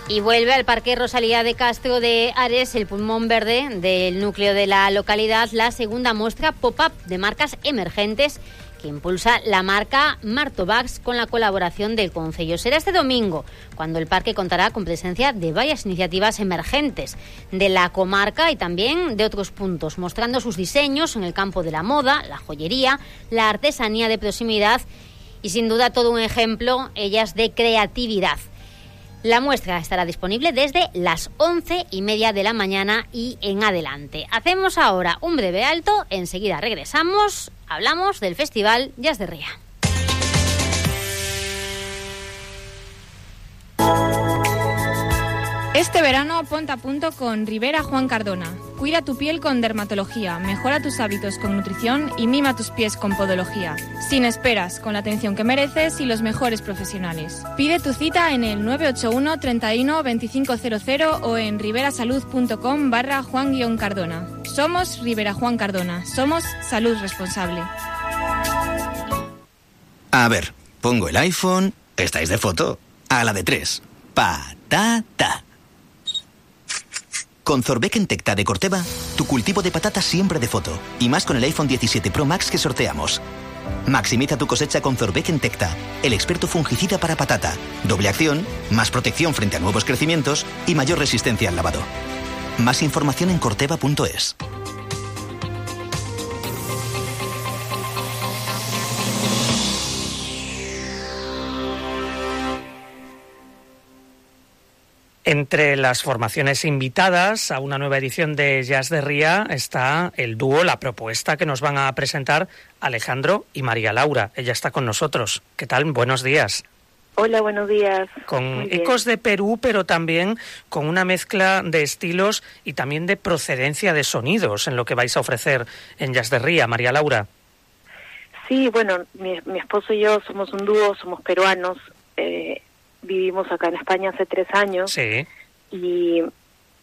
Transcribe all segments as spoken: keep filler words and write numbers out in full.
Y vuelve al Parque Rosalía de Castro de Ares, el pulmón verde del núcleo de la localidad, la segunda muestra pop-up de marcas emergentes que impulsa la marca Martovax con la colaboración del Concello. Será este domingo, cuando el parque contará con presencia de varias iniciativas emergentes de la comarca y también de otros puntos, mostrando sus diseños en el campo de la moda, la joyería, la artesanía de proximidad y sin duda todo un ejemplo, ellas, de creatividad. La muestra estará disponible desde las once y media de la mañana y en adelante. Hacemos ahora un breve alto, enseguida regresamos, hablamos del Festival Jazz de Ría. Este verano ponte a punto con Rivera Juan Cardona. Cuida tu piel con dermatología, mejora tus hábitos con nutrición y mima tus pies con podología. Sin esperas, con la atención que mereces y los mejores profesionales. Pide tu cita en el nueve ocho uno, treinta y uno, veinticinco cero cero o en riverasalud.com barra Juan Cardona. Somos Rivera Juan Cardona. Somos salud responsable. A ver, pongo el iPhone. ¿Estáis de foto? A la de tres. Patata. Con Zorbeck Tecta de Corteva, tu cultivo de patatas siempre de foto. Y más con el iPhone diecisiete Pro Max que sorteamos. Maximiza tu cosecha con Zorbeck Tecta, el experto fungicida para patata. Doble acción, más protección frente a nuevos crecimientos y mayor resistencia al lavado. Más información en corteva punto es. Entre las formaciones invitadas a una nueva edición de Jazz de Ría está el dúo, la propuesta que nos van a presentar Alejandro y María Laura. Ella está con nosotros. ¿Qué tal? Buenos días. Hola, buenos días. Con ecos de Perú, pero también con una mezcla de estilos y también de procedencia de sonidos en lo que vais a ofrecer en Jazz de Ría, María Laura. Sí, bueno, mi, mi esposo y yo somos un dúo, somos peruanos, eh, vivimos acá en España hace tres años. Sí. Y,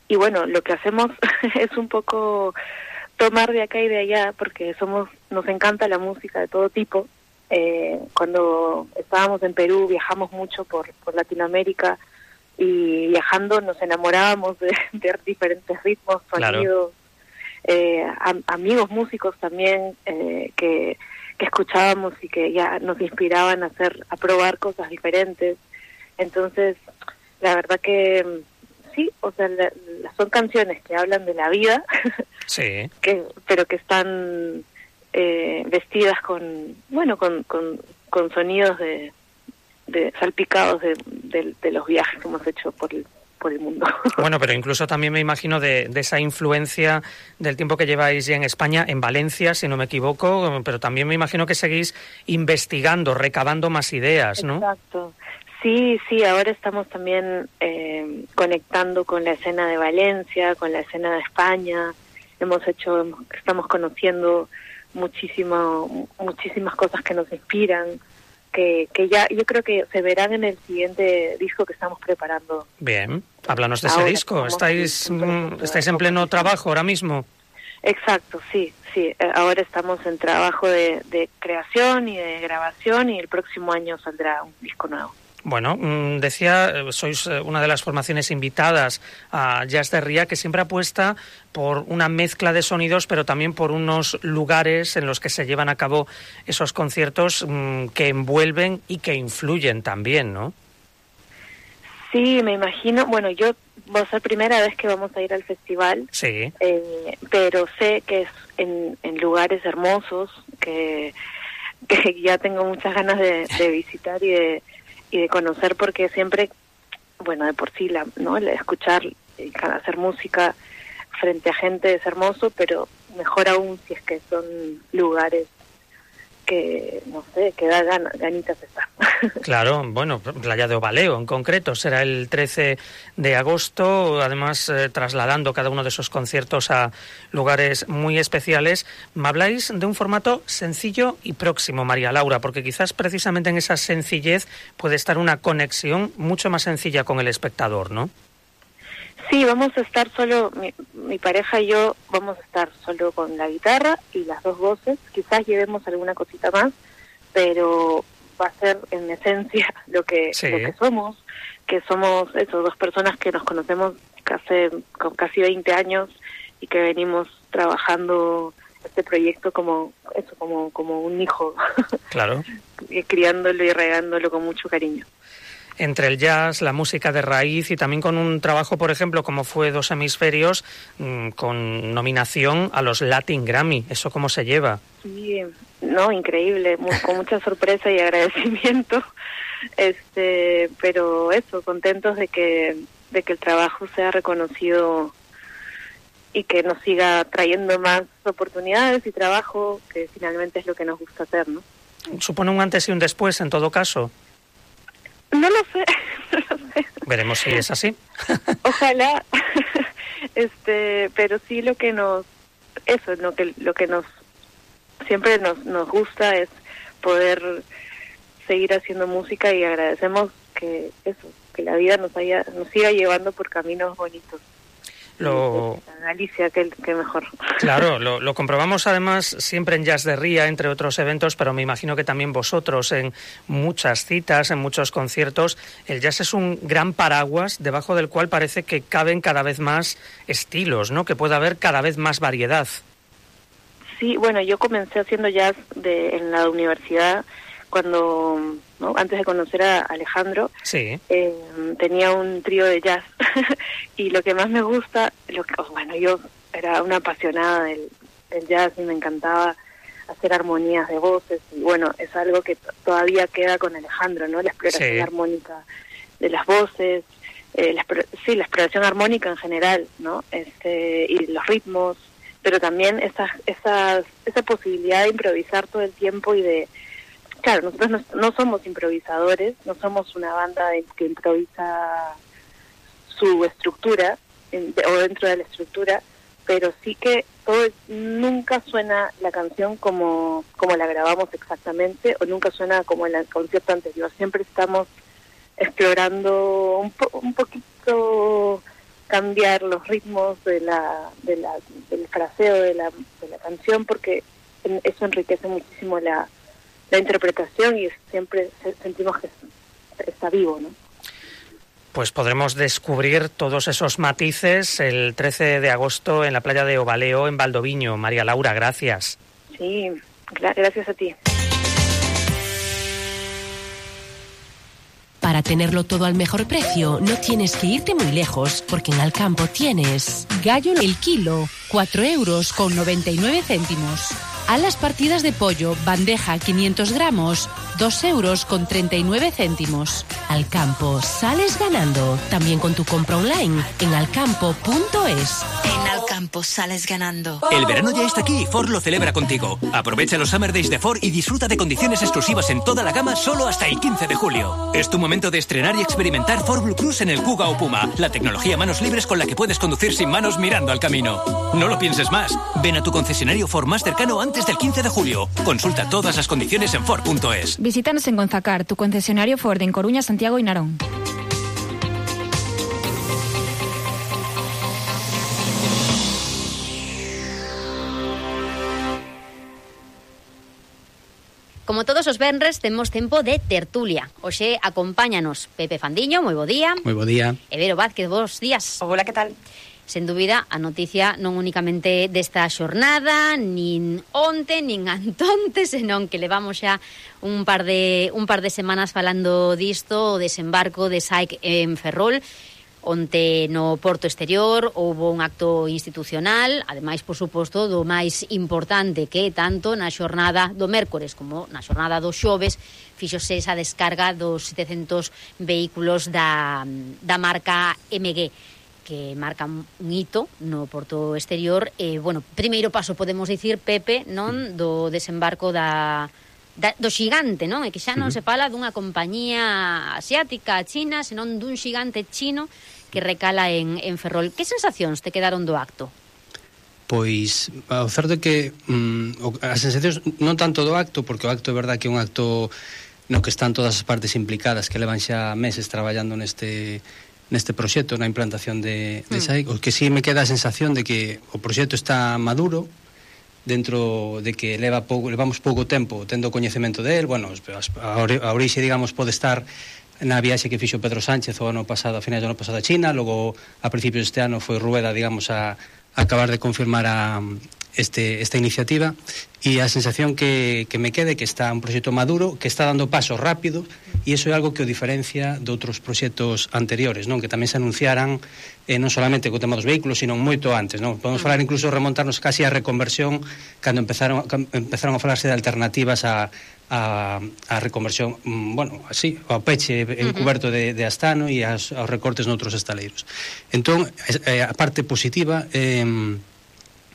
y bueno, lo que hacemos es un poco tomar de acá y de allá, porque somos, nos encanta la música de todo tipo. Eh, cuando estábamos en Perú viajamos mucho por, por Latinoamérica y viajando nos enamorábamos de, de diferentes ritmos, sonidos, claro. eh, am, amigos músicos también eh, que, que escuchábamos y que ya nos inspiraban a hacer, a probar cosas diferentes. Entonces, la verdad que sí, o sea, la, la, son canciones que hablan de la vida, sí, que, pero que están eh, vestidas con, bueno, con, con, con sonidos de, de salpicados de, de, de los viajes que hemos hecho por el, por el mundo. Bueno, pero incluso también me imagino de, de esa influencia del tiempo que lleváis ya en España, en Valencia, si no me equivoco, pero también me imagino que seguís investigando, recabando más ideas, ¿no? Exacto. Sí, sí, ahora estamos también eh, conectando con la escena de Valencia, con la escena de España. Hemos hecho, estamos conociendo muchísimo, muchísimas cosas que nos inspiran, que, que ya yo creo que se verán en el siguiente disco que estamos preparando. Bien, háblanos de ese disco. ¿Estáis, estáis en pleno trabajo ahora mismo? Exacto, sí, sí. Ahora estamos en trabajo de, de creación y de grabación y el próximo año saldrá un disco nuevo. Bueno, decía, sois una de las formaciones invitadas a Jazz de Ría que siempre apuesta por una mezcla de sonidos, pero también por unos lugares en los que se llevan a cabo esos conciertos mmm, que envuelven y que influyen también, ¿no? Sí, me imagino. Bueno, yo va a ser primera vez que vamos a ir al festival, sí, eh, pero sé que es en, en lugares hermosos que, que ya tengo muchas ganas de, de visitar y de y de conocer, porque siempre, bueno, de por sí, la, ¿no? El escuchar y hacer música frente a gente es hermoso, pero mejor aún si es que son lugares que, no sé, que da gan- ganitas estar. Claro, bueno, Playa de Ovaleo en concreto será el trece de agosto, además eh, trasladando cada uno de esos conciertos a lugares muy especiales. Me habláis de un formato sencillo y próximo, María Laura, porque quizás precisamente en esa sencillez puede estar una conexión mucho más sencilla con el espectador, ¿no? Sí, vamos a estar solo, mi, mi pareja y yo vamos a estar solo con la guitarra y las dos voces, quizás llevemos alguna cosita más, pero va a ser en esencia lo que, sí. lo que somos, que somos eso, dos personas que nos conocemos casi, con casi veinte años y que venimos trabajando este proyecto como eso, como, como un hijo. Claro. Criándolo y regándolo con mucho cariño. Entre el jazz, la música de raíz y también con un trabajo, por ejemplo, como fue Dos Hemisferios, mmm, con nominación a los Latin Grammy. ¿Eso cómo se lleva? Sí, no, increíble, muy, con mucha sorpresa y agradecimiento, este, pero eso, contentos de que, de que el trabajo sea reconocido y que nos siga trayendo más oportunidades y trabajo, que finalmente es lo que nos gusta hacer, ¿no? ¿Supone un antes y un después, en todo caso? No lo sé, no lo sé. Veremos si es así. Ojalá, este, pero sí lo que nos, eso, lo que lo que nos siempre nos nos gusta es poder seguir haciendo música y agradecemos que eso, que la vida nos haya, nos siga llevando por caminos bonitos. Lo... Galicia, que, que mejor. Claro, lo, lo comprobamos además siempre en Jazz de Ría, entre otros eventos, pero me imagino que también vosotros en muchas citas, en muchos conciertos. El jazz es un gran paraguas debajo del cual parece que caben cada vez más estilos, ¿no? Que puede haber cada vez más variedad. Sí, bueno, yo comencé haciendo jazz de, en la universidad cuando, ¿no? Antes de conocer a Alejandro, sí. eh, tenía un trío de jazz y lo que más me gusta, lo que, bueno, yo era una apasionada del, del jazz y me encantaba hacer armonías de voces y bueno, es algo que t- todavía queda con Alejandro, ¿no? La exploración sí. armónica de las voces, eh, la, sí, la exploración armónica en general, ¿no? Este, y los ritmos, pero también esas, esas, esa posibilidad de improvisar todo el tiempo y de... Claro, nosotros no, no somos improvisadores, no somos una banda de, que improvisa su estructura en, de, o dentro de la estructura, pero sí que todo, nunca suena la canción como, como la grabamos exactamente o nunca suena como en el concierto anterior. Siempre estamos explorando un, po, un poquito cambiar los ritmos de la, de la, del fraseo de la, de la canción porque eso enriquece muchísimo la la interpretación y siempre sentimos que está vivo, ¿no? Pues podremos descubrir todos esos matices el trece de agosto en la playa de Ovaleo, en Valdoviño. María Laura, gracias. Sí, gracias a ti. Para tenerlo todo al mejor precio, no tienes que irte muy lejos, porque en Alcampo tienes gallo el kilo, cuatro euros con noventa y nueve céntimos. Alas partidas de pollo, bandeja quinientos gramos, dos euros con treinta y nueve céntimos. Alcampo, sales ganando. También con tu compra online en alcampo punto es. En Alcampo sales ganando. El verano ya está aquí y Ford lo celebra contigo. Aprovecha los Summer Days de Ford y disfruta de condiciones exclusivas en toda la gama solo hasta el quince de julio. Es tu momento de estrenar y experimentar Ford Blue Cruise en el Kuga o Puma, la tecnología manos libres con la que puedes conducir sin manos mirando al camino. No lo pienses más. Ven a tu concesionario Ford más cercano antes del quince de julio. Consulta todas las condiciones en Ford punto es. Visítanos en Gonzacar, tu concesionario Ford en Coruña, Santiago y Narón. Como todos os venres, temos tempo de tertulia. Oxe, acompáñanos Pepe Fandiño, moi bo día. Moi bo día. E Vero Vázquez, bos días. Hola, que tal? Sen dúbida, a noticia non únicamente desta xornada, nin onte, nin antonte, senón que levamos xa un par de un par de semanas falando disto, o desembarco de S A E C en Ferrol, onte no Porto Exterior houbo un acto institucional, ademais, por suposto, do máis importante que tanto na xornada do mércores como na xornada do xoves fíxose esa descarga dos setecentos vehículos da, da marca M G, que marca un hito no Porto Exterior. E, bueno, primeiro paso, podemos dicir, Pepe, non, do desembarco da... Da, do xigante, non? E que xa non se fala dunha compañía asiática, china, senón dun xigante chino que recala en, en Ferrol. Que sensacións te quedaron do acto? Pois, o certo é que mm, as sensacións non tanto do acto, porque o acto é verdad que é un acto no que están todas as partes implicadas, que levan xa meses traballando neste neste proxecto, na implantación de, de S A E C. Mm. O que sí me queda a sensación de que o proxecto está maduro, dentro de que leva pouco, levamos pouco tempo tendo coñecemento del, bueno, a, a orixe, digamos, pode estar na viaxe que fixo Pedro Sánchez o ano pasado, a finais do ano pasado a China, logo a principios deste ano foi Rueda, digamos, a, a acabar de confirmar a Este, esta iniciativa, e a sensación que, que me quede que está un proxecto maduro, que está dando pasos rápidos, e iso é algo que o diferencia de outros proxectos anteriores, non, que tamén se anunciaran eh, non solamente co tema dos vehículos, sino moito antes, non? Podemos falar incluso remontarnos casi á reconversión cando empezaron, empezaron a falarse de alternativas a a, a reconversión, bueno, así, ao peche encuberto de, de Astano e as, aos recortes noutros estaleiros. Entón, eh, a parte positiva eh,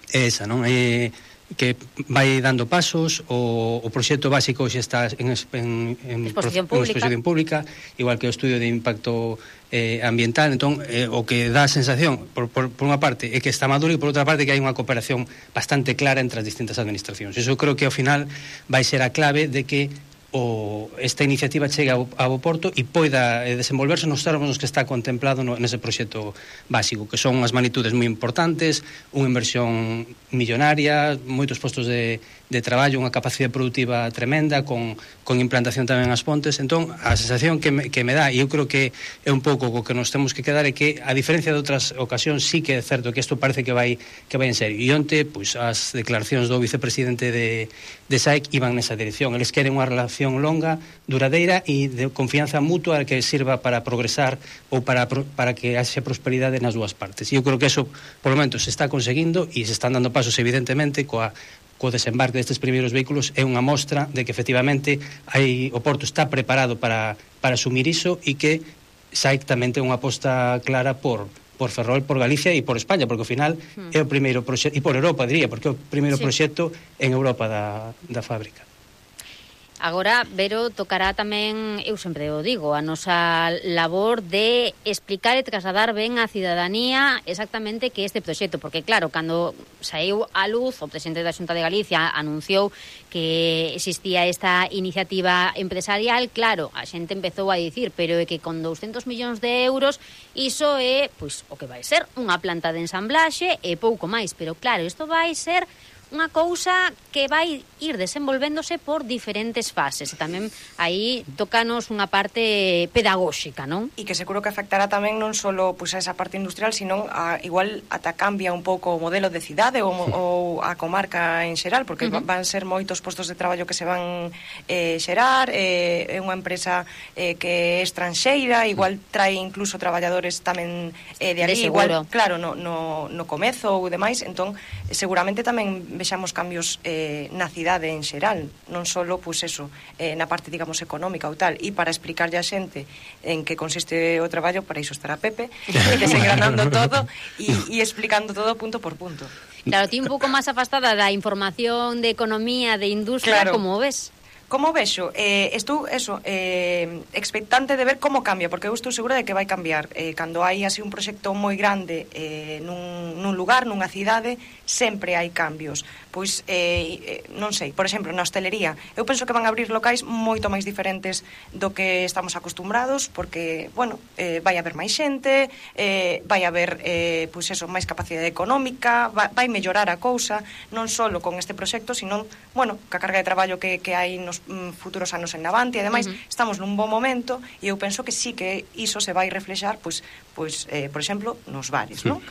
é esa, non? É que vai dando pasos, o, o proxecto básico xa está en, en, en, exposición, en exposición pública, igual que o estudio de impacto eh, ambiental. Entón, eh, o que dá a sensación, por, por, por unha parte, é que está maduro, e por outra parte que hai unha cooperación bastante clara entre as distintas administracións. Iso creo que ao final vai ser a clave de que o esta iniciativa chegue ao, ao porto e poida eh, desenvolverse nos términos que está contemplado no, nese proxecto básico, que son unhas magnitudes moi importantes, unha inversión millonaria, moitos postos de, de traballo, unha capacidade productiva tremenda, con, con implantación tamén ás Pontes. Entón, a sensación que me, que me dá, e eu creo que é un pouco co que nos temos que quedar, é que, a diferencia de outras ocasións, sí que é certo que isto parece que vai que vai en serio. E onte, pois, as declaracións do vicepresidente de, de S A E C iban nesa dirección. Eles queren unha relación longa, duradeira e de confianza mutua que sirva para progresar ou para, para que haxe prosperidade nas dúas partes. E eu creo que eso, por lo menos, se está conseguindo, e se están dando pasos, evidentemente, coa co desembarque destes primeiros vehículos. É unha mostra de que efectivamente hai, o Porto está preparado para, para asumir iso, e que S A E C tamén ten unha aposta clara por por Ferrol, por Galicia e por España, porque ao final hmm. é o primeiro proxecto, e por Europa, diría, porque é o primeiro sí. proxecto en Europa da, da fábrica. Agora, Vero, tocará tamén, eu sempre o digo, a nosa labor de explicar e trasladar ben á cidadanía exactamente que este proxecto, porque claro, cando saiu a luz, o presidente da Xunta de Galicia anunciou que existía esta iniciativa empresarial, claro, a xente empezou a dicir, pero é que con douscentos millóns de euros iso é, pois, o que vai ser unha planta de ensamblaxe e pouco máis, pero claro, isto vai ser unha cousa que vai ir desenvolvéndose por diferentes fases. E tamén aí tócanos unha parte pedagóxica, non? E que seguro que afectará tamén non só pois, a esa parte industrial, sino a, igual ata cambia un pouco o modelo de cidade ou, ou a comarca en xeral, porque uh-huh. van ser moitos postos de traballo que se van eh, xerar, é eh, unha empresa eh, que é estranxeira, igual trae incluso traballadores tamén eh, de ali, de igual, claro, no, no, no comezo ou demais, entón seguramente tamén vexamos cambios eh, na cidade en xeral, non só, pois eso, eh, na parte, digamos, económica ou tal, e para explicarlle a xente en que consiste o traballo, para iso estará Pepe, desengranando todo e, e explicando todo punto por punto. Claro, ti un pouco máis afastada da información de economía, de industria, claro. Como ves? Como vexo? Eh, estou, eso, eh, expectante de ver como cambia, porque eu estou segura de que vai cambiar. Eh, cando hai así un proxecto moi grande eh, nun, nun lugar, nunha cidade, sempre hai cambios. Pois, eh, non sei, por exemplo, na hostelería, eu penso que van a abrir locais moito máis diferentes do que estamos acostumbrados, porque, bueno, eh, vai haber máis xente, eh, vai haber, eh, pois eso, máis capacidade económica, vai, vai mellorar a cousa, non só con este proxecto, sino, bueno, ca carga de traballo que, que hai nos futuros anos en Navante, e ademais, uh -huh. estamos nun bon momento, e eu penso que sí que iso se vai reflexar, pois, pois eh, por exemplo, nos bares, non?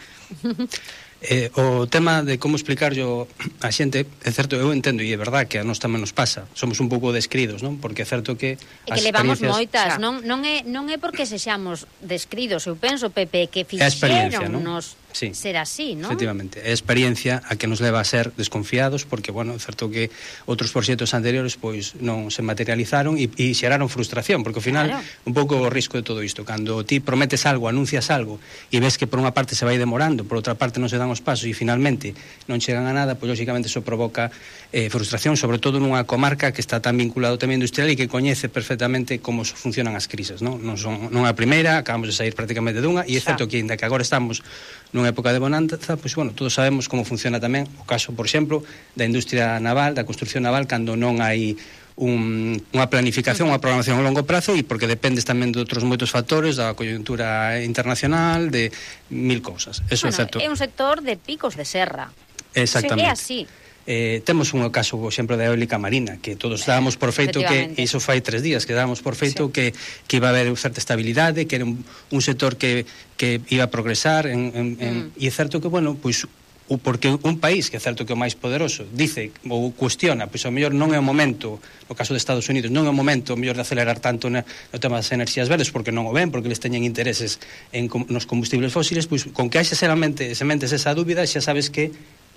Eh, o tema de como explicar yo a xente, é certo, eu entendo, e é verdad que a nós tamén nos pasa, somos un pouco descridos, non? Porque é certo que e que levamos moitas, non, non, é, non é porque sexamos descridos, eu penso, Pepe, que fixeron nos sí, ser así, non? Efectivamente, é a experiencia a que nos leva a ser desconfiados, porque, bueno, é certo que outros proxectos anteriores pois non se materializaron e, e xeraron frustración, porque ao final, claro. un pouco o risco de todo isto, cando ti prometes algo, anuncias algo, e ves que por unha parte se vai demorando, por outra parte non se dan os pasos e finalmente non chegan a nada, pois lógicamente iso provoca eh, frustración, sobre todo nunha comarca que está tan vinculado tamén industrial e que coñece perfectamente como funcionan as crises, non? Non son non a primeira, acabamos de sair prácticamente dunha, e é certo que ainda que agora estamos nunha época de bonanza, pois bueno, todos sabemos como funciona tamén o caso, por exemplo, da industria naval, da construcción naval, cando non hai un, unha planificación, unha programación a longo prazo, e porque dependes tamén de outros moitos factores, da coyuntura internacional, de mil cousas. Eso bueno, é certo. É un sector de picos de serra. Exactamente. É así. Eh, temos un caso, por exemplo, da eólica marina, que todos dábamos por feito que, iso fai tres días, que dábamos por feito sí. que, que iba a haber certa estabilidade, que era un, un sector que, que iba a progresar, en, en, mm. en, e é certo que, bueno, pois, o, porque un país, que é certo que é o máis poderoso, dice ou cuestiona, pois ao mellor non é o momento, no caso de Estados Unidos, non é o momento o mellor de acelerar tanto na, no tema das enerxías verdes, porque non o ven, porque eles teñen intereses en, nos combustibles fósiles, pois con que haxa sementes, sementes esa dúbida, xa sabes que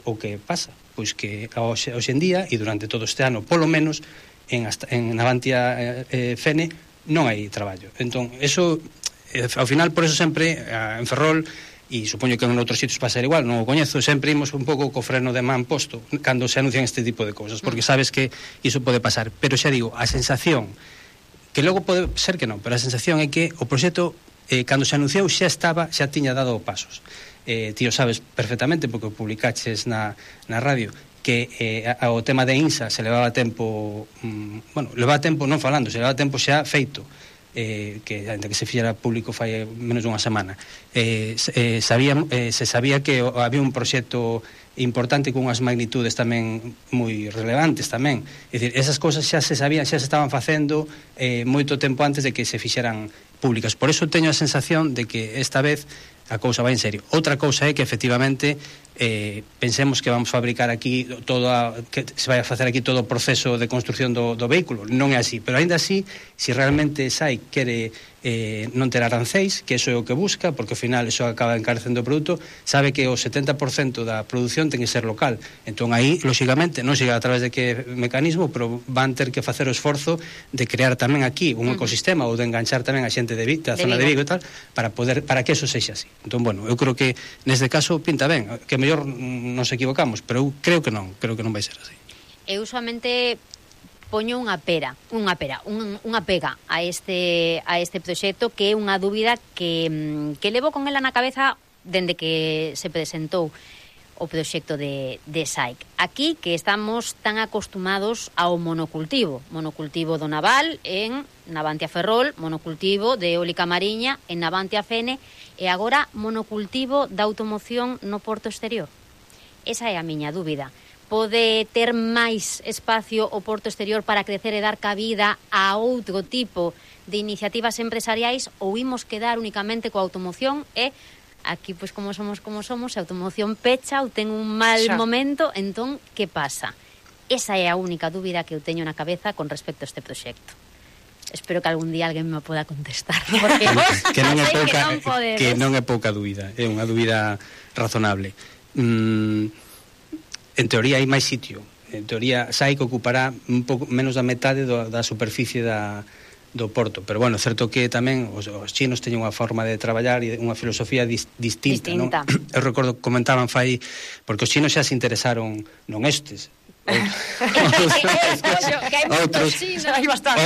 o que pasa, pois que hoxe, hoxe en día e durante todo este ano, polo menos en, hasta, en Navantia eh, Fene non hai traballo. Entón, eso eh, ao final, por eso sempre eh, en Ferrol, e supoño que en outros sitios pasa igual, non o coñezo, sempre imos un pouco co freno de man posto cando se anuncian este tipo de cousas, porque sabes que iso pode pasar, pero xa digo, a sensación que logo pode ser que non, pero a sensación é que o proxecto eh, cando se anunciou xa estaba, xa tiña dado pasos. Eh, ti o sabes perfectamente porque o publicaches na, na radio que eh, ao tema de INSA se levaba tempo mm, bueno, levaba tempo non falando, se levaba tempo xa feito eh, que ainda que se fixera público fai menos dunha semana eh, eh, sabía, eh, se sabía que había un proxecto importante con unhas magnitudes tamén moi relevantes tamén, é dicir, esas cousas xa se sabían, xa se estaban facendo eh, moito tempo antes de que se fixeran públicas, por eso teño a sensación de que esta vez a cousa vai en serio. Outra cousa é que efectivamente eh, pensemos que vamos a fabricar aquí todo a, que se vai a facer aquí todo o proceso de construcción do, do vehículo, non é así, pero aínda así, se si realmente S A I quere eh, non ter arancéis, que eso é o que busca, porque ao final eso acaba encarecendo o produto, sabe que o setenta por cento da produción ten que ser local, entón aí, lóxicamente, non siga a través de que mecanismo, pero van ter que facer o esforzo de crear tamén aquí un ecosistema ou de enganchar tamén a xente de Vigo, da zona de Vigo e tal, para poder para que eso sexa así. Entón, bueno, eu creo que neste caso pinta ben, que mellor nos equivocamos, pero eu creo que non, creo que non vai ser así. Eu usualmente poño unha pera, unha pera, un, unha pega a este a este proxecto que é unha dúbida que, que levo con ela na cabeza dende que se presentou o proxecto de, de S A I C. Aquí que estamos tan acostumados ao monocultivo, monocultivo do naval en Navantia Ferrol, monocultivo de eólica mariña en Navantia Fene e agora monocultivo da automoción no porto exterior. Esa é a miña dúbida. Pode ter máis espacio o porto exterior para crecer e dar cabida a outro tipo de iniciativas empresariais ou imos quedar únicamente coa automoción e aquí, pois, como somos como somos, a automoción pecha ou ten un mal Xa. momento, entón, que pasa? Esa é a única dúbida que eu teño na cabeza con respecto a este proxecto. Espero que algún día alguén me poda contestar, porque vos que non é pouca, que non podedes. Que non é pouca dúbida, é unha dúbida razonable. Mm, en teoría hai máis sitio. En teoría, S A I C ocupará un pouco menos da metade do, da superficie da do porto, pero bueno, certo que tamén os, os chinos teñen unha forma de traballar e unha filosofía dis, distinta, distinta. Non? Eu recordo que comentaban fai, porque os chinos xa se interesaron non estes, outros,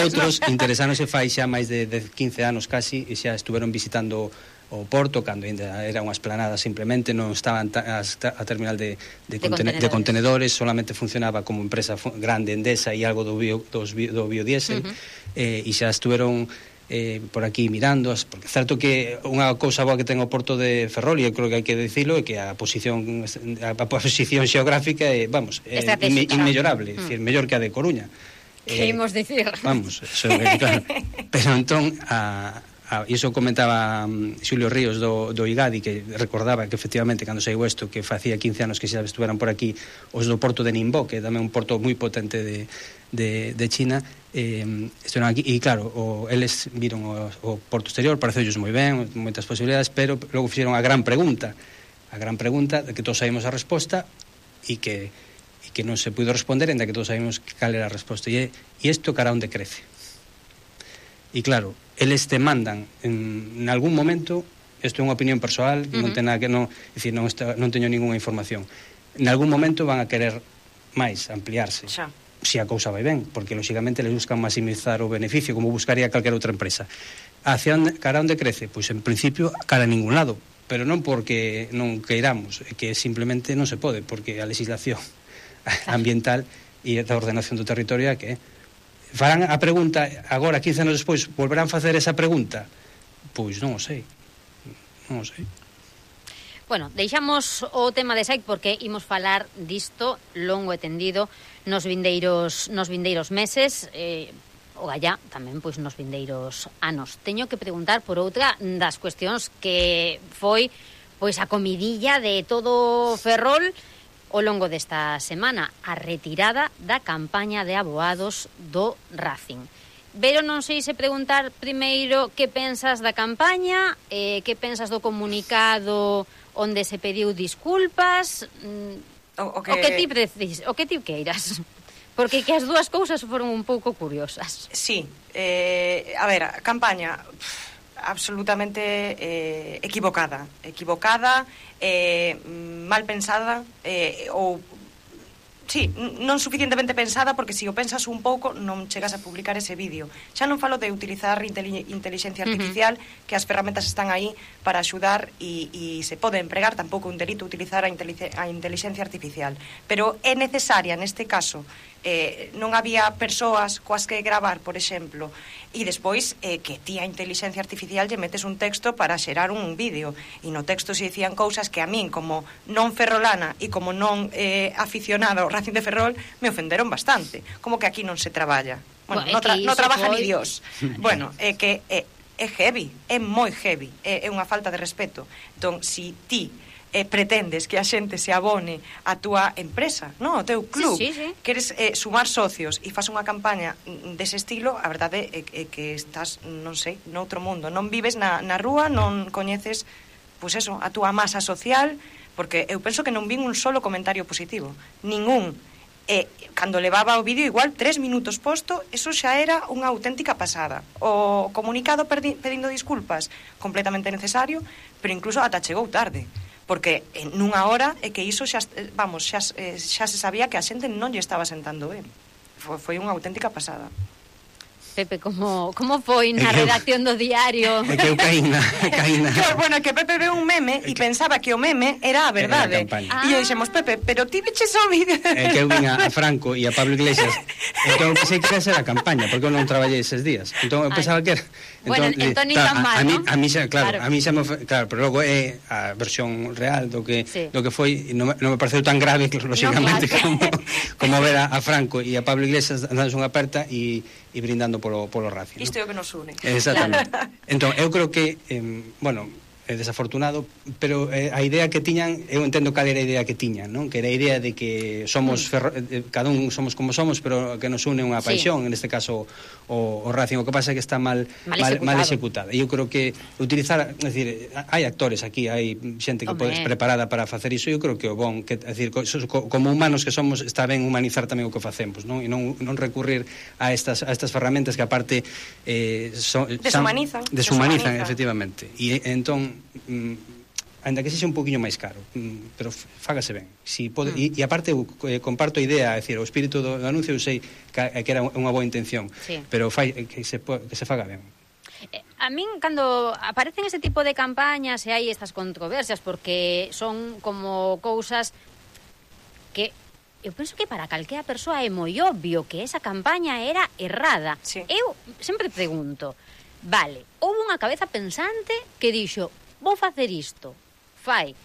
outros interesáronse fai xa máis de, de quince anos casi e xa estuveron visitando o porto cando ainda era unha esplanada, simplemente non estaban ta, a, a terminal de, de, de, contenedores. de contenedores, solamente funcionaba como empresa grande Endesa e algo do, bio, dos, do biodiesel uh -huh. eh, e xa estuveron eh, por aquí mirando, porque certo que unha cousa boa que ten o porto de Ferrol, e eu creo que hai que dicilo, é que a posición a posición xeográfica é, vamos, é inme, inmellorable, uh -huh. é dicir, mellor que a de Coruña. Que eh, imos dicir? Vamos, eso é claro. Pero entón a Ah, iso comentaba um, Xulio Ríos do, do IGADI, que recordaba que efectivamente cando saiu isto, que facía quince anos que xa estuveran por aquí os do porto de Ningbo, que é tamén un porto moi potente de, de, de China, eh, estuveran aquí, e claro, o, eles viron o, o porto exterior, pareceulles moi ben, moitas posibilidades, pero logo fixeron a gran pregunta, a gran pregunta de que todos sabemos a resposta e que, e que non se puido responder, ainda que todos sabemos cal era a resposta, e, e isto cara onde crece. E claro, eles te mandan en, en algún momento, isto é unha opinión persoal, uh -huh. non ten nada que non, é dicir, non, está, non teño ninguna información. En algún momento van a querer máis ampliarse. Xa. Se a cousa vai ben, porque lógicamente les buscan maximizar o beneficio, como buscaría calquera outra empresa. Hacia onde, cara onde crece? Pois en principio cara a ningún lado, pero non porque non queiramos, é que simplemente non se pode, porque a legislación ambiental e a ordenación do territorio é que farán a pregunta agora, quince anos despois, volverán facer esa pregunta? Pois non o sei. Non o sei. Bueno, deixamos o tema de Saic porque imos falar disto longo e tendido nos vindeiros, nos vindeiros meses, eh, o gallá tamén pois nos vindeiros anos. Teño que preguntar por outra das cuestións que foi pois a comidilla de todo Ferrol ao longo desta semana, a retirada da campaña de aboados do Racing. Pero non sei se preguntar primeiro que pensas da campaña, eh, que pensas do comunicado onde se pediu disculpas, o, o, que... o que ti precis, o que ti queiras. Porque que as dúas cousas foron un pouco curiosas. Sí, eh, a ver, a campaña absolutamente eh, equivocada, equivocada, eh, mal pensada, eh, ou sí, non suficientemente pensada, porque se o pensas un pouco non chegas a publicar ese vídeo. Xa non falo de utilizar inteligencia artificial, uh-huh. que as ferramentas están aí para axudar e, e se pode empregar, tampouco un delito utilizar a, a inteligencia artificial, pero é necesaria neste caso. Eh, non había persoas coas que gravar, por exemplo, e despois eh, que ti a inteligencia artificial lle metes un texto para xerar un vídeo, e no texto se dicían cousas que a min, como non ferrolana e como non eh, aficionada ao Racing de Ferrol, me ofenderon bastante, como que aquí non se traballa. Bueno, bueno no, tra no trabaja foi... ni Dios. Bueno, é eh, que é, é heavy, é moi heavy, é, é unha falta de respeto. Entón, si ti Eh, pretendes que a xente se abone a túa empresa, no, o teu club, sí, sí, sí. queres eh, sumar socios e fas unha campaña dese estilo, a verdade é, é que estás, non sei, noutro mundo, non vives na, na rúa, non coñeces, pois eso, a túa masa social, porque eu penso que non vin un solo comentario positivo, ningún. E cando levaba o vídeo igual tres minutos posto, eso xa era unha auténtica pasada. O comunicado pedindo disculpas, completamente necesario, pero incluso ata chegou tarde, porque en nunha hora é que iso xa, vamos, xa, xa se sabía que a xente non lle estaba sentando ben. Foi, foi unha auténtica pasada. Pepe, como, como foi na redacción do diario? É que eu caína, caína. Claro, bueno, que Pepe veu un meme e pensaba que o meme era a verdade. Ah. E eu dixemos, Pepe, pero ti veches o vídeo. É que eu vin a Franco e a Pablo Iglesias. Entón eu pensei que ia ser a campaña, porque eu non traballei eses días. Entón eu pensaba que era... Bueno, entón nin tan mal, ¿no? A mí xa, claro, claro, a mí xa me foi, claro, pero logo é a versión real do que sí. do que foi, non, non me pareceu tan grave, lógicamente, no, claro. como, como ver a, a Franco e a Pablo Iglesias dándose unha aperta e, e brindando polo, polo Racing. Isto é o que nos une. Exactamente. Claro. Entón, eu creo que, eh, bueno, é desafortunado, pero eh, a idea que tiñan, eu entendo cal era a idea que tiñan, non? Que era a idea de que somos ferro, eh, cada un somos como somos, pero que nos une unha paixón, sí. En este caso o, o Racing, o que pasa é que está mal mal, mal, mal executada. E eu creo que utilizar, é dicir, hai actores aquí, hai xente que podes preparada para facer iso, eu creo que o bon, que é dicir, como humanos que somos, está ben humanizar tamén o que facemos, non? E non, non recurrir a estas a estas ferramentas que aparte eh, son, deshumanizan, deshumanizan, deshumanizan, efectivamente. E entón mm, ainda que sexa un poquinho máis caro, mm, pero fágase ben. Si pode, mm. e, e aparte eu eh, comparto a idea, é dicir, o espírito do, do anuncio eu sei que, que era unha boa intención, sí. Pero fai, que, se, que se faga ben. A min, cando aparecen ese tipo de campañas e hai estas controversias, porque son como cousas que eu penso que para calquera persoa é moi obvio que esa campaña era errada. Sí. Eu sempre pregunto, vale, houve unha cabeza pensante que dixo, vou facer isto, fai,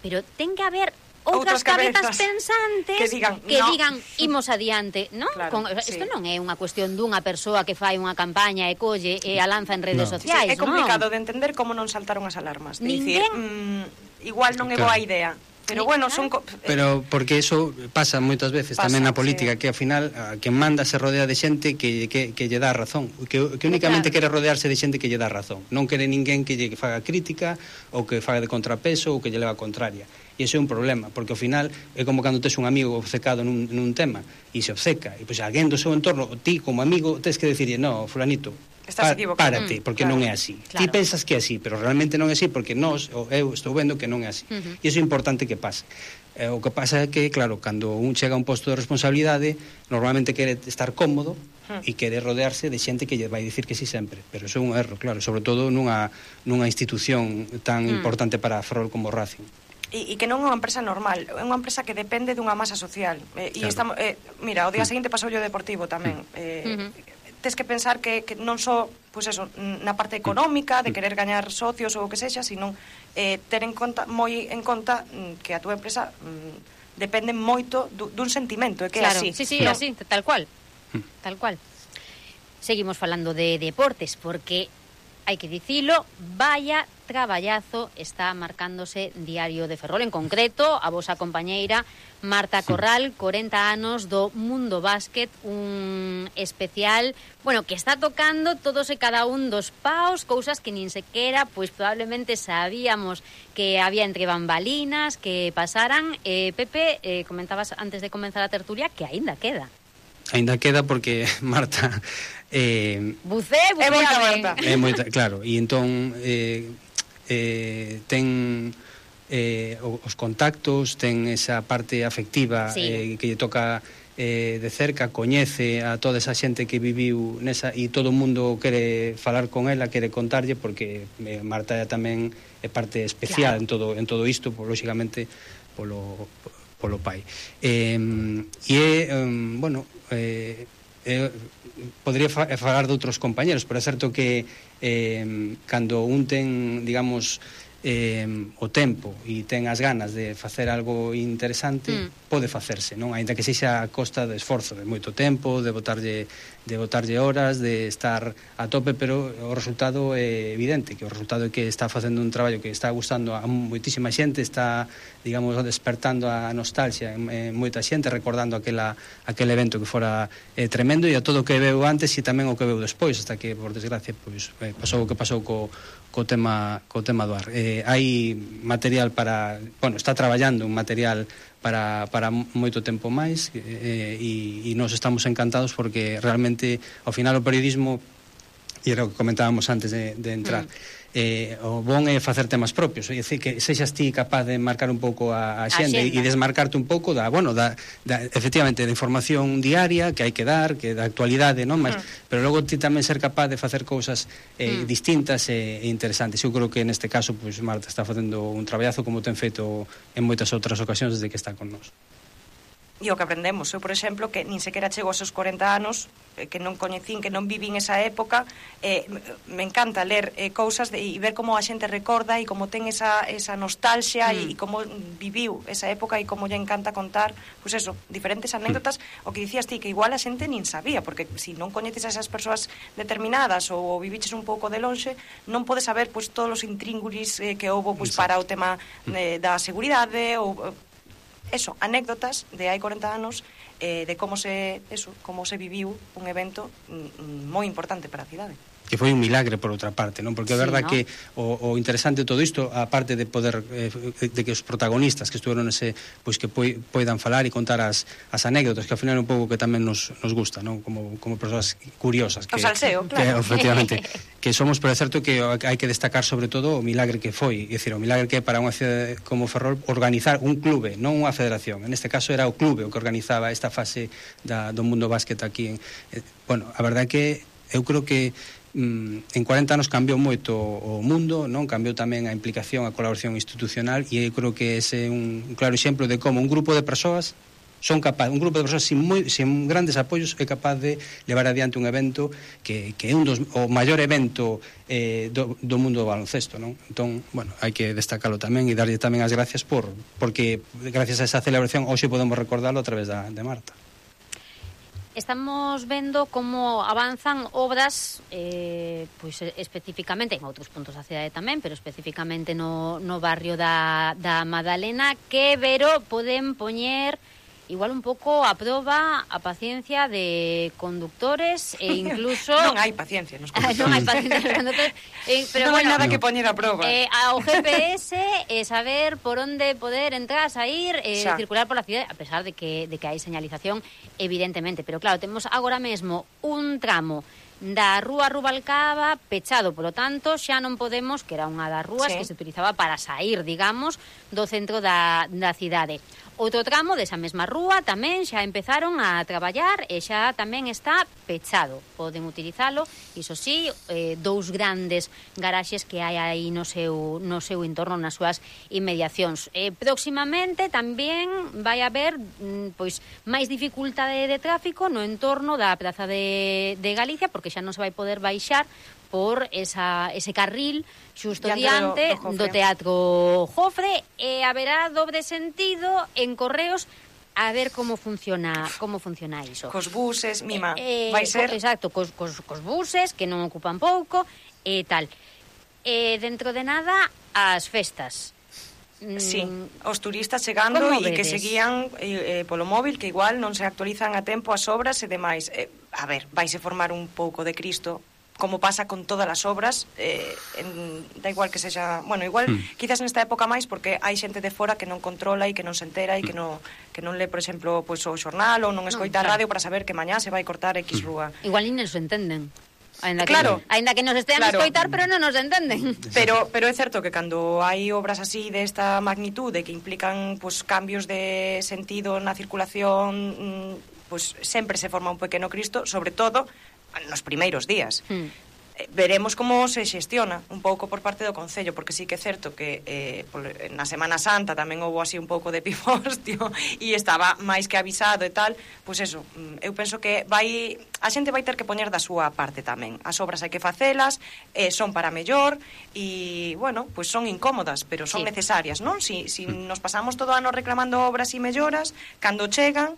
pero ten que haber outras, outras cabezas, cabezas pensantes que digan, que no. digan imos adiante, non? Claro, Con, sí. Isto non é unha cuestión dunha persoa que fai unha campaña e colle e a lanza en redes no. sociais, sí, é complicado non? de entender como non saltaron as alarmas, de Ninguén... dicir, mm, igual non é claro. boa idea. Pero bueno, son... Pero porque eso pasa moitas veces pasa, tamén na política, sí. Que ao final a quen manda se rodea de xente que, que, que lle dá razón, que, que únicamente claro. Quere rodearse de xente que lle dá razón. Non quere ninguén que lle faga crítica ou que faga de contrapeso ou que lle leva a contraria. E iso é un problema, porque ao final é como cando tes un amigo obcecado nun, nun tema e se obceca, e pois alguén do seu entorno, ti como amigo tes que decirlle, no, fulanito, estás equivocado. Párate, porque claro. Non é así. Claro. Ti pensas que é así, pero realmente non é así porque nós, ou eu estou vendo que non é así. Uh-huh. E iso é importante que pase. Eh, o que pasa é que, claro, cando un chega a un posto de responsabilidade, normalmente quere estar cómodo uh-huh. E quere rodearse de xente que lle vai dicir que sí sempre, pero iso é un erro, claro, sobre todo nunha, nunha institución tan uh-huh. importante para Ferrol como Racing. E, e que non é unha empresa normal, é unha empresa que depende dunha masa social. Eh, e claro. estamos, eh, mira, o día seguinte pasou o Deportivo tamén. Eh, uh-huh. tes que pensar que, que non só pois eso, na parte económica de querer gañar socios ou o que sexa, sino eh, ter en conta moi en conta que a túa empresa mm, depende moito dun sentimento, é que claro, é así. Sí, sí, no. así, tal cual. Tal cual. Seguimos falando de deportes porque hai que dicilo, vaya traballazo está marcándose Diario de Ferrol, en concreto a vosa compañeira Marta Corral, corenta anos do Mundo Básquet, un especial, bueno, que está tocando todos e cada un dos paos, cousas que nin sequera, pois probablemente sabíamos que había entre bambalinas, que pasaran. Eh, Pepe, eh, comentabas antes de comenzar a tertulia que aínda queda. Aínda queda porque Marta eh, bucé, bucé, é moita Marta. É moita, claro, e entón eh, eh, ten eh, os contactos, ten esa parte afectiva, sí. eh, que lle toca eh, de cerca, coñece a toda esa xente que viviu nesa, e todo o mundo quere falar con ela, quere contarlle, porque eh, Marta tamén é parte especial, claro, en todo en todo isto, por, lógicamente polo polo pai. Eh, e é, um, bueno, eh, eh, podría fa falar de outros compañeros, pero é certo que eh, cando un ten, digamos, eh, o tempo e ten as ganas de facer algo interesante, mm. pode facerse, non? Aínda que sexa a costa de esforzo, de moito tempo, de botarlle de botarlle horas, de estar a tope, pero o resultado é evidente, que o resultado é que está facendo un traballo que está gustando a moitísima xente, está, digamos, despertando a nostalgia en, en moita xente, recordando aquela, aquel evento que fora eh, tremendo, e a todo o que veu antes e tamén o que veu despois, hasta que, por desgracia, pois, eh, pasou o que pasou co, co tema co tema do ar. Eh, hai material para, bueno, está traballando un material para, para moito tempo máis, eh, e, e nos estamos encantados porque realmente ao final o periodismo, e era o que comentábamos antes de, de entrar, mm. eh, o bon é facer temas propios, é dicir, que sexas ti capaz de marcar un pouco a, a xente e desmarcarte un pouco da, bueno, da, da, efectivamente, da información diaria que hai que dar, que da actualidade, non? Mas, mm. pero logo ti tamén ser capaz de facer cousas eh, mm. distintas e, e interesantes. Eu creo que neste caso, pues, Marta está facendo un traballazo como ten feito en moitas outras ocasións desde que está con nós. E o que aprendemos, eu, por exemplo, que nin sequera chego aos seus corenta anos, eh, que non coñecín, que non vivín esa época, eh, me encanta ler eh, cousas de, e ver como a xente recorda e como ten esa, esa nostalgia mm. e como viviu esa época e como lle encanta contar, pois pues eso, diferentes anécdotas, mm. o que dicías ti, que igual a xente nin sabía, porque se si non coñeces a esas persoas determinadas ou viviches un pouco de lonxe, non podes saber pois pues, todos os intríngulis eh, que houbo pois, pues, para o tema eh, da seguridade ou eso, anécdotas de hai corenta anos eh, de como se eso, como se viviu un evento mm, moi importante para a cidade. Que foi un milagre por outra parte, non? Porque é sí, verdad, ¿no?, que o, o interesante de todo isto, a parte de poder eh, de que os protagonistas que estuveron ese, pois que poi, poidan falar e contar as, as anécdotas, que ao final é un pouco que tamén nos, nos gusta, non? Como, como persoas curiosas que, o salseo, que, claro. que efectivamente, que somos, pero é certo que hai que destacar sobre todo o milagre que foi, é dicir, o milagre que é para unha cidade como Ferrol organizar un clube, non unha federación. En este caso era o clube o que organizaba esta fase da, do Mundo Básquet aquí en, eh, bueno, a verdade que eu creo que en cuarenta anos cambiou moito o mundo, non? Cambiou tamén a implicación, a colaboración institucional, e eu creo que ese é un claro exemplo de como un grupo de persoas son capaz, un grupo de persoas sin, moi, sin grandes apoios é capaz de levar adiante un evento que, que é un dos, o maior evento eh, do, do mundo do baloncesto, non? Entón, bueno, hai que destacarlo tamén e darlle tamén as gracias por, porque gracias a esa celebración hoxe podemos recordarlo a través da, de Marta. Estamos vendo como avanzan obras eh, pois especificamente en outros puntos da cidade tamén, pero especificamente no, no barrio da, da Madalena, que Vero poden poñer igual un pouco a proba a paciencia de conductores e incluso non hai paciencia nos conductores. Non hai paciencia nos conductores, eh, pero non bueno, hai nada que poñer a proba. Eh, ao G P S e eh, saber por onde poder entrar, sair, eh, circular por la cidade, a pesar de que de que hai señalización evidentemente, pero claro, temos agora mesmo un tramo da Rúa Rubalcaba pechado, polo tanto, xa non podemos, que era unha das rúas sí. que se utilizaba para sair, digamos, do centro da, da cidade. Outro tramo desa mesma rúa tamén xa empezaron a traballar e xa tamén está pechado. Poden utilizalo, iso sí, eh, dous grandes garaxes que hai aí no seu, no seu entorno, nas súas inmediacións. Eh, próximamente tamén vai haber mm, pois máis dificultade de tráfico no entorno da Praza de, de Galicia, porque xa non se vai poder baixar por esa, ese carril xusto diante do, do, do Teatro Jofre, e haberá dobre sentido en Correos a ver como funciona como funciona iso. Cos buses, mima, eh, vai ser... Exacto, cos, cos, cos buses, que non ocupan pouco, e tal. E dentro de nada, as festas. Sí, os turistas chegando e que seguían eh, polo móvil, que igual non se actualizan a tempo as obras e demais. Eh, a ver, vaise formar un pouco de Cristo, como pasa con todas as obras, eh, en, da igual que sexa, bueno, igual mm. quizás nesta época máis, porque hai xente de fora que non controla e que non se entera e que non, que non lee, por exemplo, pues, o xornal ou non escoita no, claro. a radio para saber que mañá se vai cortar X rúa. Igual ni nos entenden. Ainda que, claro, ainda que nos estean claro. a escoitar, pero non nos entenden. Pero pero é certo que cando hai obras así desta magnitude que implican pues, cambios de sentido na circulación, pues, sempre se forma un pequeno Cristo, sobre todo nos primeiros días. Hmm. Eh, veremos como se xestiona un pouco por parte do Concello, porque sí que é certo que eh, na Semana Santa tamén houve así un pouco de pifostio e estaba máis que avisado e tal, pois pues eso, eu penso que vai a xente vai ter que poñer da súa parte tamén. As obras hai que facelas, eh, son para mellor e, bueno, pois pues son incómodas, pero son sí. necesarias, non? Si, si nos pasamos todo o ano reclamando obras e melloras, cando chegan,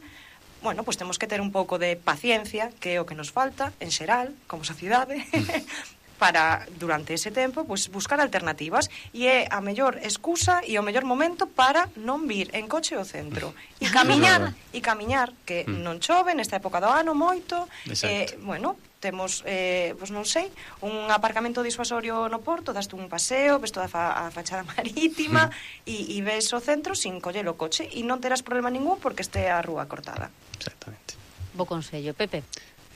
bueno, pois pues temos que ter un pouco de paciencia, que é o que nos falta, en xeral, como sociedade, para, durante ese tempo, pois pues, buscar alternativas. E é a mellor excusa e o mellor momento para non vir en coche ao centro. E camiñar, e camiñar, que non chove nesta época do ano moito, eh, bueno, temos, eh, pois non sei, un aparcamento disuasorio no porto, daste un paseo, ves toda a, fa, a fachada marítima e, e ves o centro sin coller o coche e non terás problema ningún porque este a rúa cortada. Exactamente. Bo consello, Pepe.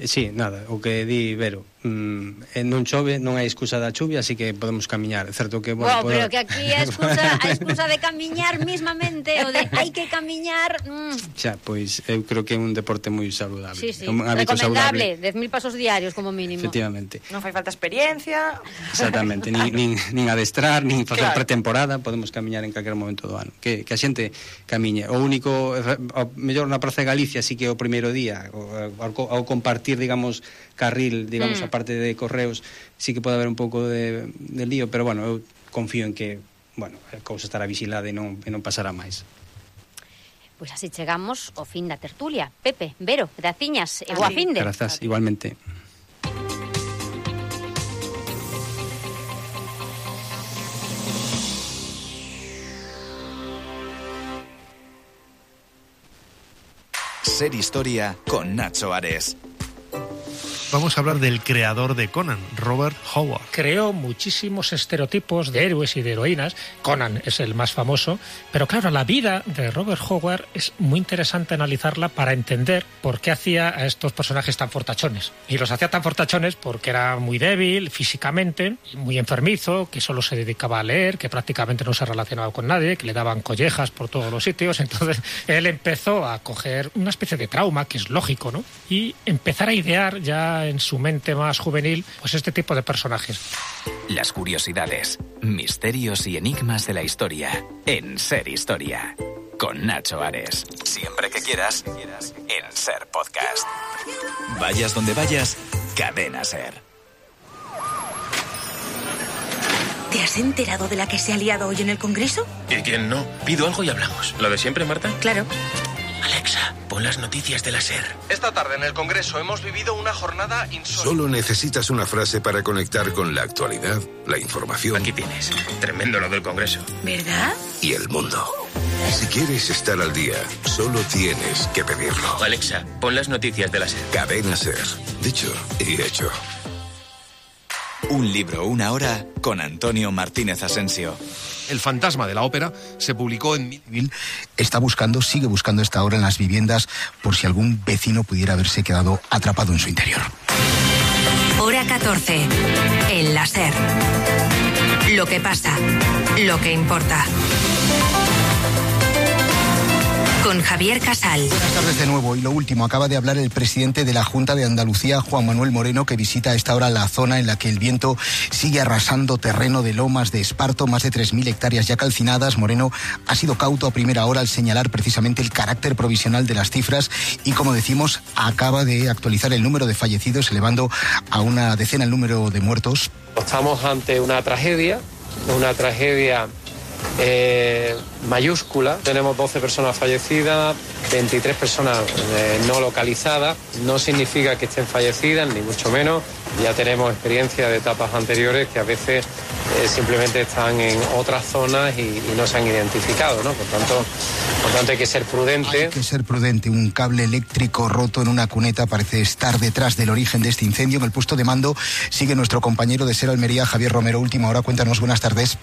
Eh, sí, nada, o que di Vero, mm, non chove, non hai excusa da chuvia, así que podemos camiñar. Certo que, bueno, wow, pero que aquí a excusa, a excusa de camiñar mismamente, o de hai que camiñar... Mm. Xa, pois eu creo que é un deporte moi saludable. Sí, sí, un hábito recomendable, saludable. dez mil pasos diarios como mínimo. Efectivamente. Non fai falta experiencia. Exactamente, nin, nin, nin adestrar, nin facer claro. pretemporada, podemos camiñar en calquer momento do ano. Que, que a xente camiñe. O único, o mellor na Praza de Galicia, sí que o primeiro día, ao, ao compartir, digamos, carril, digamos, mm. a parte de Correos, sí que pode haber un pouco de, de lío, pero bueno, eu confío en que, bueno, a cousa estará vigilada e non, e non pasará máis. Pois así chegamos ao fin da tertulia. Pepe, Vero, graciñas, e boa finde. Grazas, igualmente. Ser Historia con Nacho Ares. Vamos a hablar del creador de Conan, Robert Howard. Creó muchísimos estereotipos de héroes y de heroínas. Conan es el más famoso. Pero claro, la vida de Robert Howard es muy interesante analizarla para entender por qué hacía a estos personajes tan fortachones. Y los hacía tan fortachones porque era muy débil físicamente, muy enfermizo, que solo se dedicaba a leer, que prácticamente no se relacionaba con nadie, que le daban collejas por todos los sitios. Entonces él empezó a coger una especie de trauma, que es lógico, ¿no? Y empezar a idear ya en su mente más juvenil, pues este tipo de personajes. Las curiosidades, misterios y enigmas de la historia en Ser Historia. Con Nacho Ares. Siempre que quieras, en Ser Podcast. Vayas donde vayas, Cadena Ser. ¿Te has enterado de la que se ha liado hoy en el Congreso? ¿Y quién no? Pido algo y hablamos. ¿Lo de siempre, Marta? Claro. Alexa, pon las noticias de la SER. Esta tarde en el Congreso hemos vivido una jornada insólita. Solo necesitas una frase para conectar con la actualidad, la información. Aquí tienes. Tremendo lo del Congreso. ¿Verdad? Y el mundo. Si quieres estar al día, solo tienes que pedirlo. Alexa, pon las noticias de la SER. Cadena SER. Dicho y hecho. Un libro, una hora, con Antonio Martínez Asensio. El fantasma de la ópera se publicó en... Está buscando, sigue buscando esta hora en las viviendas por si algún vecino pudiera haberse quedado atrapado en su interior. catorce. El la SER. Lo que pasa, lo que importa. Con Javier Casal. Buenas tardes de nuevo. Y lo último, acaba de hablar el presidente de la Junta de Andalucía, Juan Manuel Moreno, que visita a esta hora la zona en la que el viento sigue arrasando terreno de Lomas de Esparto, más de tres mil hectáreas ya calcinadas. Moreno ha sido cauto a primera hora al señalar precisamente el carácter provisional de las cifras y, como decimos, acaba de actualizar el número de fallecidos, elevando a una decena el número de muertos. Estamos ante una tragedia, una tragedia Eh, mayúscula. Tenemos doce personas fallecidas, veintitrés personas eh, no localizadas. No significa que estén fallecidas, ni mucho menos. Ya tenemos experiencia de etapas anteriores que a veces eh, simplemente están en otras zonas y, y no se han identificado, ¿no? Por tanto, por tanto hay que ser prudente. Hay que ser prudente. Un cable eléctrico roto en una cuneta parece estar detrás del origen de este incendio. En el puesto de mando sigue nuestro compañero de SER Almería, Javier Romero. Última hora, cuéntanos, buenas tardes.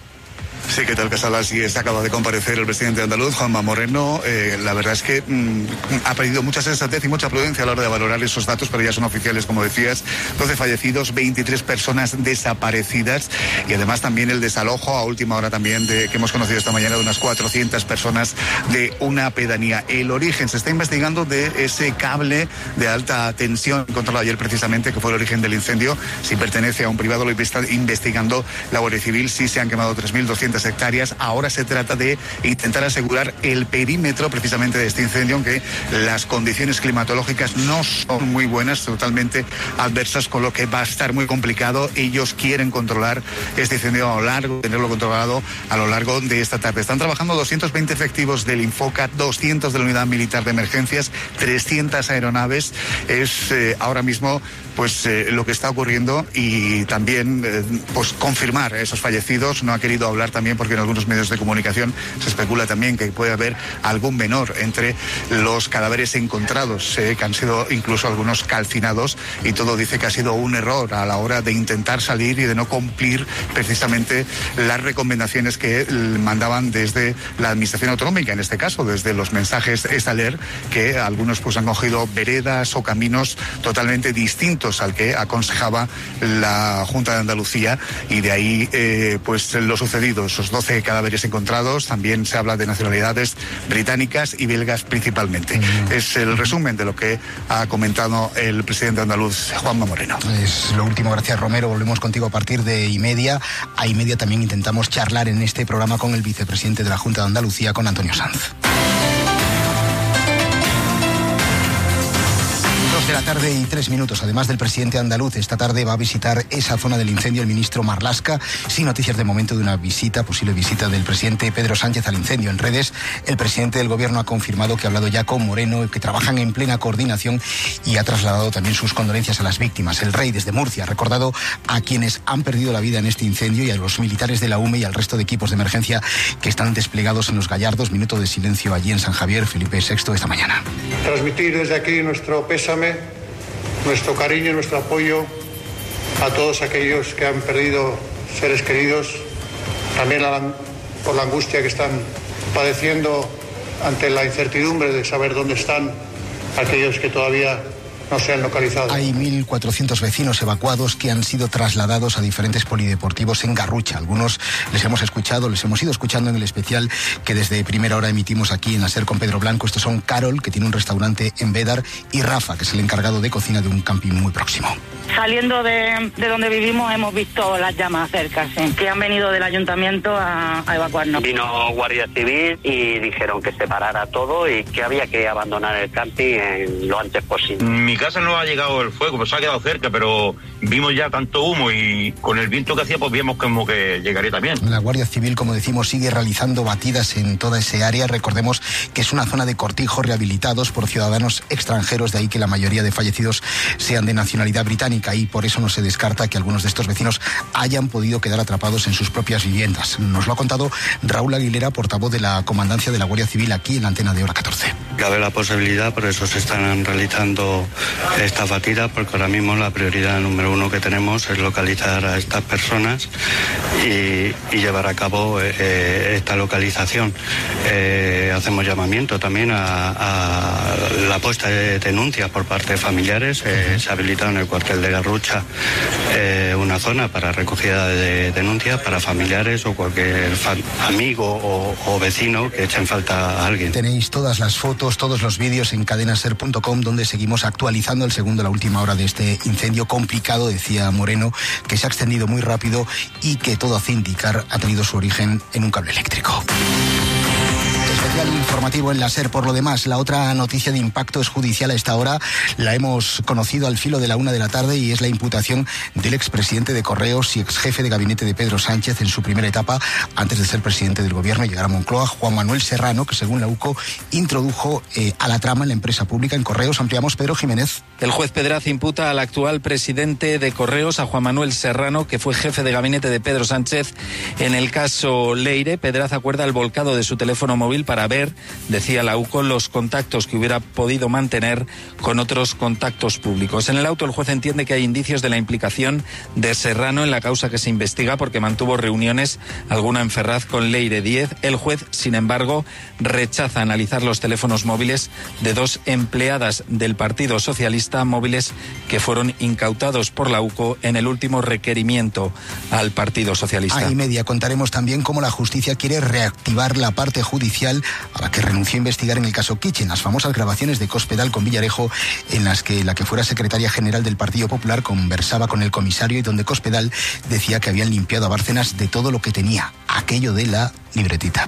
Sí, ¿qué tal, Casal? Así es, acaba de comparecer el presidente andaluz, Juanma Moreno. Eh, la verdad es que mmm, ha perdido mucha sensatez y mucha prudencia a la hora de valorar esos datos, pero ya son oficiales, como decías. doce fallecidos, veintitrés personas desaparecidas y además también el desalojo a última hora también de, que hemos conocido esta mañana de unas cuatrocientas personas de una pedanía. El origen se está investigando de ese cable de alta tensión encontrado ayer precisamente, que fue el origen del incendio. Si pertenece a un privado, lo está investigando la Guardia Civil. Sí se han quemado tres mil doscientas hectáreas. Ahora se trata de intentar asegurar el perímetro precisamente de este incendio, aunque las condiciones climatológicas no son muy buenas, totalmente adversas, con lo que va a estar muy complicado. Ellos quieren controlar este incendio a lo largo, tenerlo controlado a lo largo de esta tarde. Están trabajando doscientos veinte efectivos del Infoca, doscientos de la Unidad Militar de Emergencias, trescientas aeronaves. Es eh, ahora mismo pues eh, lo que está ocurriendo y también eh, pues confirmar esos fallecidos. No ha querido hablar también porque en algunos medios de comunicación se especula también que puede haber algún menor entre los cadáveres encontrados, eh, que han sido incluso algunos calcinados, y todo dice que ha sido un error a la hora de intentar salir y de no cumplir precisamente las recomendaciones que mandaban desde la Administración Autonómica, en este caso desde los mensajes Estaler, que algunos pues han cogido veredas o caminos totalmente distintos al que aconsejaba la Junta de Andalucía, y de ahí eh, pues lo sucedido, esos doce cadáveres encontrados. También se habla de nacionalidades británicas y belgas principalmente. Mm. Es el resumen de lo que ha comentado el presidente andaluz, Juanma Moreno. Es lo último, gracias Romero. Volvemos contigo a partir de y media. A y media también intentamos charlar en este programa con el vicepresidente de la Junta de Andalucía, con Antonio Sanz. De la tarde y tres minutos. Además del presidente andaluz, esta tarde va a visitar esa zona del incendio el ministro Marlaska. Sin noticias de momento de una visita, posible visita del presidente Pedro Sánchez al incendio. En redes, el presidente del gobierno ha confirmado que ha hablado ya con Moreno, que trabajan en plena coordinación, y ha trasladado también sus condolencias a las víctimas. El rey desde Murcia ha recordado a quienes han perdido la vida en este incendio y a los militares de la U M E y al resto de equipos de emergencia que están desplegados en los Gallardos. Minuto de silencio allí en San Javier. Felipe sexto esta mañana. Transmitir desde aquí nuestro pésame, nuestro cariño y nuestro apoyo a todos aquellos que han perdido seres queridos, también la, por la angustia que están padeciendo ante la incertidumbre de saber dónde están aquellos que todavía no se han localizado. Hay mil cuatrocientos vecinos evacuados que han sido trasladados a diferentes polideportivos en Garrucha. Algunos les hemos escuchado, les hemos ido escuchando en el especial que desde primera hora emitimos aquí en la SER con Pedro Blanco. Estos son Carol, que tiene un restaurante en Bédar, y Rafa, que es el encargado de cocina de un camping muy próximo. Saliendo de, de donde vivimos hemos visto las llamas cerca, sí, que han venido del ayuntamiento a, a evacuarnos. Vino Guardia Civil y dijeron que se parara todo y que había que abandonar el camping en lo antes posible. Mi casa no ha llegado el fuego, pues ha quedado cerca, pero vimos ya tanto humo y con el viento que hacía pues vimos como que llegaría también. La Guardia Civil, como decimos, sigue realizando batidas en toda ese área. Recordemos que es una zona de cortijos rehabilitados por ciudadanos extranjeros, de ahí que la mayoría de fallecidos sean de nacionalidad británica, y por eso no se descarta que algunos de estos vecinos hayan podido quedar atrapados en sus propias viviendas. Nos lo ha contado Raúl Aguilera, portavoz de la Comandancia de la Guardia Civil, aquí en la antena de Hora catorce. Cabe la posibilidad, por eso se están realizando esta batida, porque ahora mismo la prioridad número uno que tenemos es localizar a estas personas y, y llevar a cabo eh, esta localización. Eh, hacemos llamamiento también a, a la puesta de denuncias por parte de familiares. Eh, se ha habilitado en el cuartel de Garrucha eh, una zona para recogida de denuncias para familiares o cualquier fan, amigo o, o vecino que echen falta a alguien. Tenéis todas las fotos, todos los vídeos en cadenaser punto com, donde seguimos actualizando el segundo, la última hora de este incendio complicado, decía Moreno, que se ha extendido muy rápido y que todo hace indicar ha tenido su origen en un cable eléctrico. Especial informativo en la SER. Por lo demás, la otra noticia de impacto es judicial a esta hora. La hemos conocido al filo de la una de la tarde y es la imputación del expresidente de Correos y exjefe de gabinete de Pedro Sánchez en su primera etapa antes de ser presidente del gobierno y llegar a Moncloa, Juan Manuel Serrano, que según la U C O introdujo eh, a la trama en la empresa pública en Correos. Ampliamos, Pedro Jiménez. El juez Pedraz imputa al actual presidente de Correos, a Juan Manuel Serrano, que fue jefe de gabinete de Pedro Sánchez en el caso Leire. Pedraz acuerda el volcado de su teléfono móvil para ver, decía la U C O, los contactos que hubiera podido mantener con otros contactos públicos. En el auto, el juez entiende que hay indicios de la implicación de Serrano en la causa que se investiga porque mantuvo reuniones, alguna en Ferraz, con Leire Díez. El juez, sin embargo, rechaza analizar los teléfonos móviles de dos empleadas del Partido Socialista, móviles que fueron incautados por la U C O en el último requerimiento al Partido Socialista. A y media contaremos también cómo la justicia quiere reactivar la parte judicial a la que renunció a investigar en el caso Kitchen, las famosas grabaciones de Cospedal con Villarejo, en las que la que fuera secretaria general del Partido Popular conversaba con el comisario y donde Cospedal decía que habían limpiado a Bárcenas de todo lo que tenía, aquello de la libretita.